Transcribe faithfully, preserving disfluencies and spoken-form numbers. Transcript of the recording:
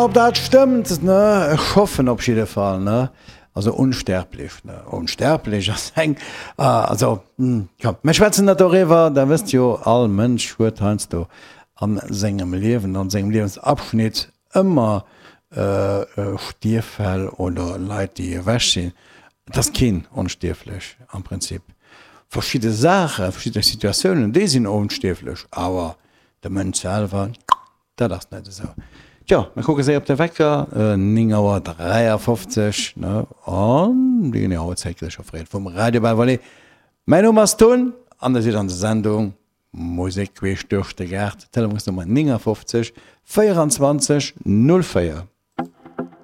Ob dat stëmmt, ne? Ech hoffen op jidde Fall, ne? Also onsterblech, ne? Onsterblech ass eng, also, komm, mir schwätzen net doriwwer, der wësst jo, all Mënsch huet heiansdo a sengem Liewen, an sengem Liewensabschnitt ëmmer Stierffäll oder Leit, déi ewech sinn. Et ass keen onstierflech am Prinzip. Verschidde Saachen, verschidde Situatiounen, déi sinn onstierflech, awer de Mënsch selwer, dat ass net esou. Tjo, mir kucke séier op de Wecker, néng Auer dräiafofzeg, ne, an déi genee Auerzäit gëtt scho freet vum Radio Belle Vallée. Mäin Numm ass Tun an der sidd an der Sendung Musek queesch duerch de Gaart, Telefonsnummer néngafofzeg véierundzwanzeg null véier.